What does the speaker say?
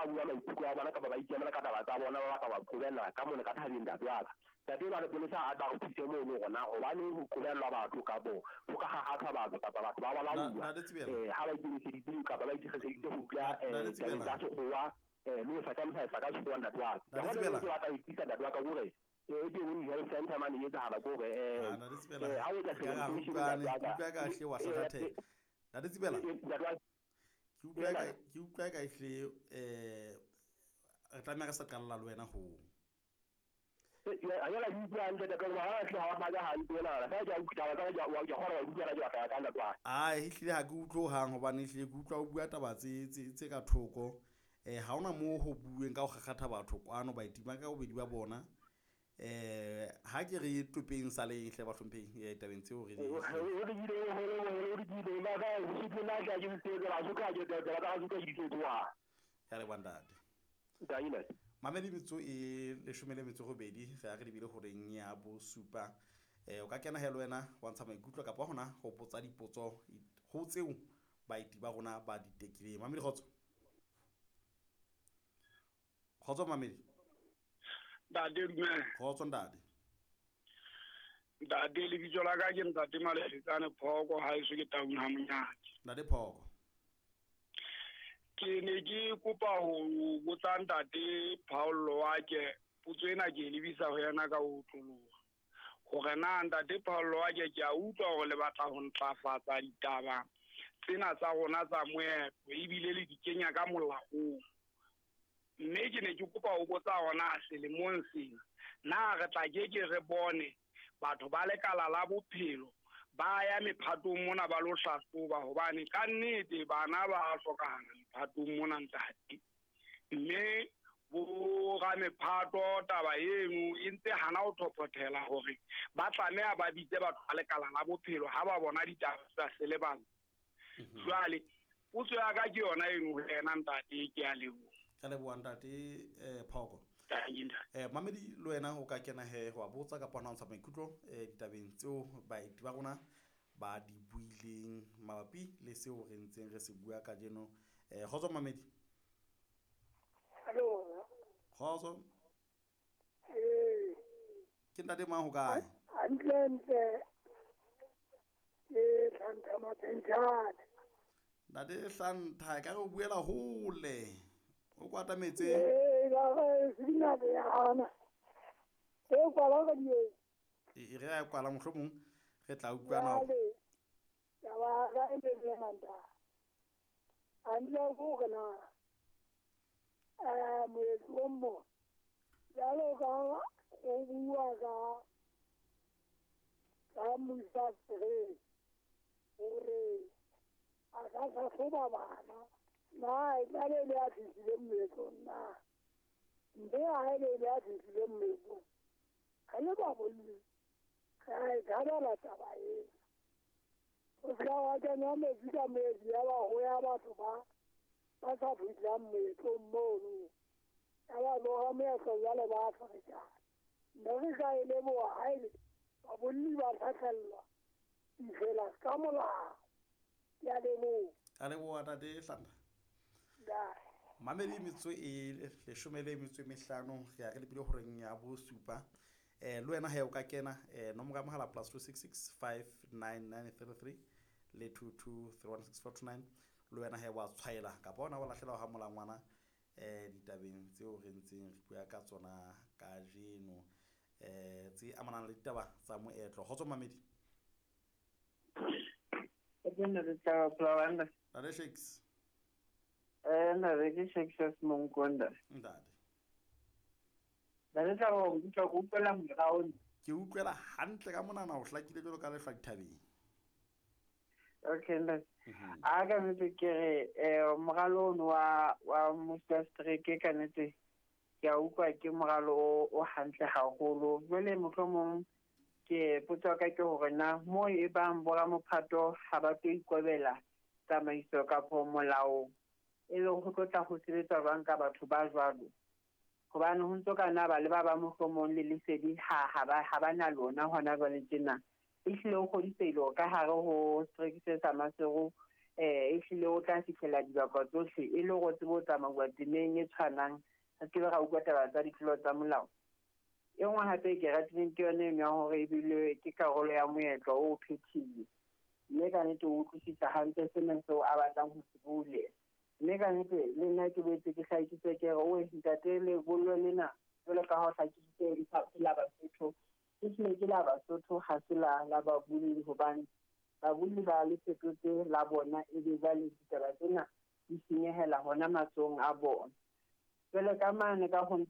ba bua maikutlo a bona kapa ba ikemela ka taba tsa bona, ba batla ba qobella ka mona ka thabeng ntate wa ka. Ntate ba lepolesa a tla re thuse mono hore na hobaneng ho qobellwa batho kapo ho ka kgakgathwa batho kapa batho ba balauwa ha ba ikemiseditse kapa ba ikemiseditse ho dula tabeng tsa sekgowa le ho circumcise ka sekgowa ntate wa ka. Ntate Tsibela. Ke batla ho itisa ntate wa ka kore e teng health center mane e etsahala kore ha o etsa circumcision ntate wa ka. Utlwa ka hle wa hlahlathela. Ntate Tsibela. Ke utlwa ka ehlile re tlameha re sa qalla le wena ho. Ae, ehlile ha ke utlwe hohang hobane ehlile ke utlwa o bua taba tse ka thoko. Ha hona moo ho bueng ka ho kgakgatha batho kwano baeti ba ka bobedi ba bona. Ha ke re topeng saleng hle bahlomphehi tabeng tseo re di Ya leboha ntate. Mamedi metso e 18 re ya re lebile horeng ya bosupa. O ka kena he le wena wa ntsha maikutlo kapa hona ho botsa dipotso ho tseo baeti ba rona ba di tekileng. Mamedi kgotso. Kgotso mamedi. Ntate dumela. Kgotso ntate. Ntate lebitso la ka ke ntate Malefetsane Phoko, haeso ke Taung ha Monyake. Ntate Phoko. Ke ne ke kopa ho botsa ntate Paulo wa ke potso ena ke lebisa ho yena ka ho otloloha. Hore na ntate Paulo wa ke ke a utlwa hore le batla ho ntlafatsa ditaba tsena tsa rona tsa moetlo ebile le di kenya ka molaong. Mme ke ne ke kopa ho botsa hona selemong sena na re tla ke ke re bone batho ba lekala la bophelo ba ya mephatong mona ba lo hlahloba hobane ka nnete bana ba hlokahala mephatong mona ntate. Mme bo ramephato taba eno e ntse hana ho thophothela hore ba tlameha ba bitse batho ba lekala la bophelo ha ba bona ditaba tsa selebalo. Jwale potso ya ka ke yona eno ho yena ntate, ke a leboha. Ka leboha ntate Phoko. Mamedi le wena o ka kena he ho botsa kapa hona ho ntsha maikutlo ditabeng tseo baeti ba rona ba di buileng mabapi le seo re ntseng re se bua kajeno. Kgotso mamedi. Hello. Kgotso. Ke ntate mang ho kae? Hantle ntle. Ke Hlantha Mathentjane. Ntate Hlantha, ka re o buela hole. O kwata metse. E re a kwala mohlomong re tla utlwana. Taba ga e le manta. Andle go gona. Moetlo mo. Jalo ka go bua ka ka Musa Sere hore a ka hlahloba bana. Na e tla be le a fihlile moetlong na? Mme ha e be le a fihlile moetlong, re le babolli re a e thabela taba ena. O se ka wa kenya metsi ka metsi ya ba ho ya batho ba ba sa fihlang moetlong mono. Ya ba loha moetlo jwale ba ferekana. Mme re ka e leboha ha ele babolli ba hlahlellwa ditsela ka molao. Ke a leboha. A leboha ntate Hlantha. Mamedi metso e 15 re ya re lebile horeng ya bosupa. Le wena he o ka kena nomoro ya mohala +266 59933 le 22316429. Le wena he wa tshwaela kapa ona wa lahlela ha molangwana ditabeng tseo re ntseng re bua ka tsona kajeno tse amanang le ditaba tsa moetlo. Kgotso mamedi. Ntate Shakes. Ntate ke Shakes Monkonda. Ntate. Ntate tla go utlwa go utlwela morao. Ke utlwela hantle ka monana o hlakile jwalo ka lehlwa dithabeng. Okay ntate. A ka nnete ke re moralo ono wa Musa Strike ka nnete ke a utlwa ke moralo o hantle haholo. Jwale mohlomong ke potso ka ke hore na mo e bang boramophato ha ba tlo ikobela tsamaiso kapa molao e le ho tlo tla ho sebetsa jwang ka batho ba jwalo, hobane ho ntso ka na ba le ba ba mohlomong le lesedi ha ba na lona hona jwale tjena. Ehlile o kgodisehile hore ka hare ho strike se sa Maseru Ehlile o tla fihlela dibaka tsohle e le hore o tsebe ho tsamauwa temeng e tshwanang, re se ke be ra utlwa taba tsa ditlolo tsa molao. E nngwe hape e ke ratileng ke yona eno ya hore ebile ke karolo ya moetlo o phethile. Mme ka nnete o utlwisisa hantle sena seo a batlang ho se bule. Mme ka nnete le nna ke boetse ke hlakise ke re, oe ntate, lebollo lena jwalo ka ha o hlakisitse ke la Basotho, ke hlile ke la Basotho, ha se la babolli, hobane babolli ba le fetotse la bona, ebe jwale ditaba tsena di senyehela hona matsohong a bona. Jwale ka mane ka ho ntate